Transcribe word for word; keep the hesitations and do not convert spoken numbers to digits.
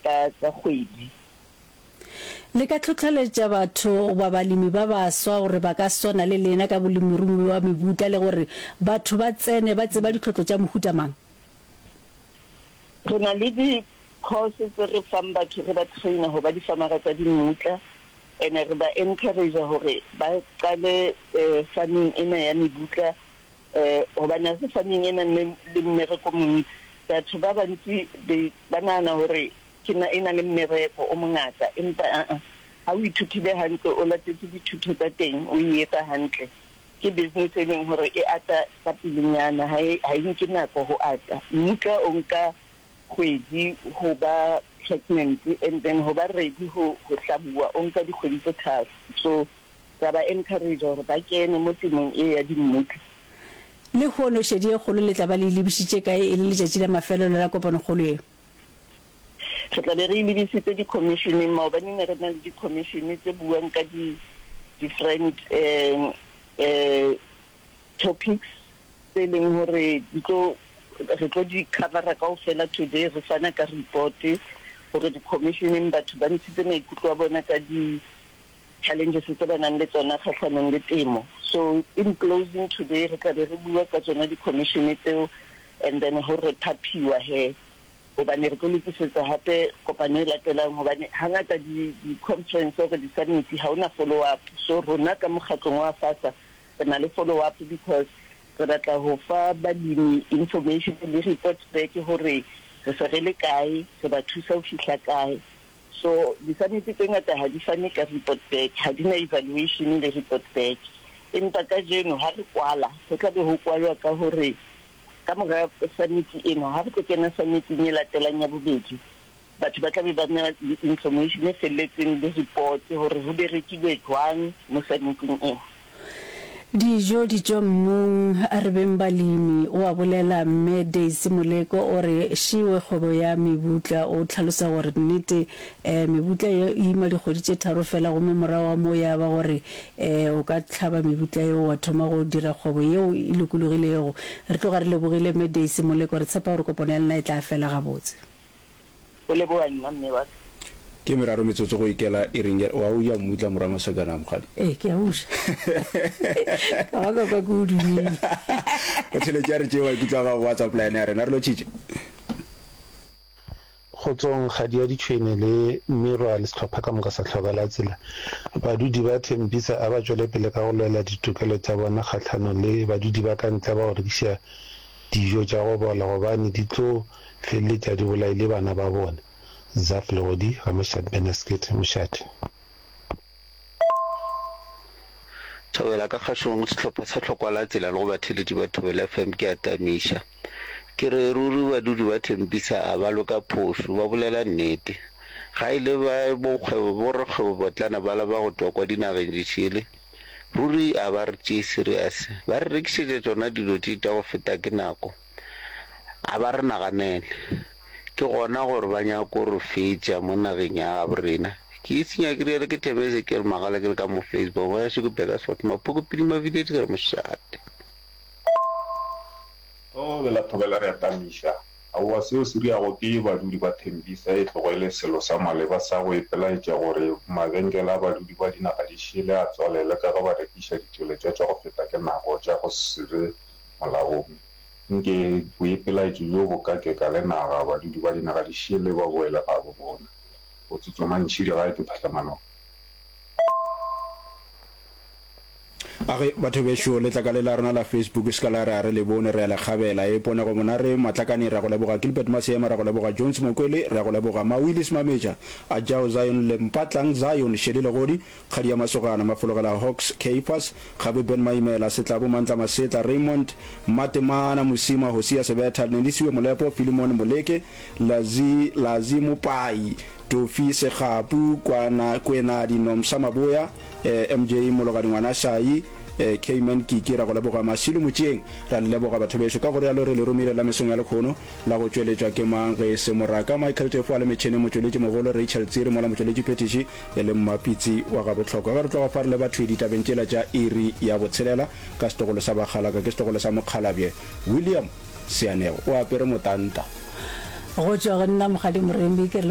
ka ka kgwedi. Le ka hlohleletša batho goba balemi ba baswa gore ba ka swana le lena ka bolemirui bja mebutla le gore batho ba tsene ba tseba ditlhotlo tša mohuta mang? Re na le di course tse re fang batho re ba trainer ho ba difamara tsa dimmutla ene re ba encourage hore ba qale farming ena ya mebutla hobane ha se farming e nang le mmereko o montsi. Batho ba bantsi ba nahana hore ke na e na le mmereko o mongata empa aa ha o ithutile hantle o latetse dithuto tsa teng o e etsa hantle ke business e leng hore e ata ka pelenyana ha e ha e nke nako ho ata. Mmutla o nka kgwedi ho ba pregnant and then ho ba ready ho ho hlabuwa o nka dikgwedi tse tharo. So ra ba encourage hore ba kene mo temong e ya dimmutla. Lehono šedi e kgolo le tla ba le e lebišitše kae e le letšatši la mafelelo la kopanokgolo ye? Re tla be re e lebisitse dikhomišeneng. Maobane ne re na le dikhomišene tse buang ka di different topics tse leng hore di tlo re tlo di covera kaofela today. Re fana ka report hore dikhomisheneng batho ba ntshitse maikutlo a bona ka di challenges tse ba nang le tsona kgahlanong le temo. So in closing today re tla be re bua ka tsona di-commission tseo and then ho re phaphiwa he hobane re tlo lokisetsa hape kopano e latelang hobane hangata di-conference or di-summit ha hona follow up. So rona ka mokgatlong wa AFASA re na le follow up because re batla ho fa balemi information le report back hore re se re le kae, re ba thusa ho fihla kae. So di-summit tse ngata ha di fane ka report back, ha di na evaluation le report back. Empa kajeno ha re kwala, ho tla be ho kwalwa ka hore ka mora summit ena, ha re tlo kena summiting e latelang ya bobedi, batho ba tla be ba na le information e felletseng le report hore ho berekilwe jwang mo summiting ena. Dijo di tšwa mmung, a re beng balemi, o a bolela Mme Daisy Moleko o re šiwe kgwebo ya mebutla. O hlalosa gore nnete mebutla ye e ima dikgwedi tše tharo fela gomme morago ga moo ya ba gore o ka hlaba mebutla yeo wa thoma go dira kgwebo yeo e lokologilego. Re tloga re lebogile Mme Daisy Moleko, re tshepa gore kopano ya lena e tla fela gabotse. Go leboga nna mme wa ka. Ke meraro metsotso go ikela iring ya, wa o ja mmutla morwa Masakana mokgadi? Ee, ke a o ja. Ka ba ka kwa ke o dumile. O theletše a re tšee maikutlo a gago WhatsApp line ya rena. Re lotšhitše. Kgotsong, Kgadi ya Ditšhwene le Mmirwa le sehlopha ka moka sa Hloka la Tsela. Badudi ba Tembisa a ba tšwele pele ka go lwela ditokelo tša bona kgahlanong le badudi ba ka ntle ba go rekiša dijo tša go bola gobane di tlo feleletša di bolaile bana ba bona. Zaf Legodi, Ramošate Benasket, Mošate. Thobela ka kgašong sehlopha sa Hlokwa la Tsela le go batheeletši ba Thobela F M ke a tamiša. Ke re ruri badudi ba Thembisa a ba lwe ka phošo, ba bolela nnete. Ga e le ba bokgwebo, borakgwebopotlana bala ba go tšwa kwa dinageng di šele, ruri a ba re tšee serious. Ba re rekišetša tšona dilo tše tša go feta ke nako. A ba re naganele. Ke gona gore ba nyako re fetša mo nageng ya gabo rena. Ke e senya ke rialo ke Thebe Ezekiel Magala ke le ka mo Facebook ngwanešu ke Burgersfort Maphoko Pidima Village ke re mošate. Thobela thobela re a tamiša. Aowa seo se riago ke badudi ba Thembisa e tlogo e le selo sa maleba sa go ipelaetša gore mabenkele a badudi ba dinaga di šele a tswalelwe ka ge ba rekiša ditšweletšwa tša go feta ke nako tša go se be molaong. Nke boipelaetšo bjo bo ka keka le naga, badudi ba dinaga di šele ba boele gabo bona. Go tsotsoma ntšhidi gae ke phahlamano. A ge, batho bešo, letlakale la rena la Facebook se ka la re a re le bone, re a le kgabela. E Ponego Monare, Matlakane, re a go leboga. Gilbert Maseema, re a go leboga. Jones Mokwele, re a go leboga. Mawillis Mametja, Ajao Zion le Mpatlang Zion, Shelley Legodi, Kgadi ya Masogana, Mafologela Hawks, Caiphus, Kgabe Ben Maimela, Setlabo Mantla Masetla, Raymond Matemana Mosima, Hosea Sebetha, Nelisiwe Molepo, Philemon Moleke, Lazi, Lazi Mopai, Tofi Segapu, Kwana, Kwenadi Nomsa Maboya, eh, M J Mologadi Ngwana Shai, eh, Cayman Kiki, ra go leboga. Masilu Motšeeng, ra le leboga batho bešo. Ka go realo re le romile la mesong ya lekhono la go tšweletšwa ke mang ge e se Moraka Michael Tefo a le metšheneng, motšweletši mogolo Rachel Tsiri, mola motšweletši phethiši e le Mmapitsi wa gabohlokwa. Ge re tloga fa re le bathwi ditabeng tšela tša iri ya botshelela ka setogolo sa Bakgalaka ke setogolo sa Mokgalabje William Seanego o apere motanta. Go tšwa go nna Mokgadi Moremi ke re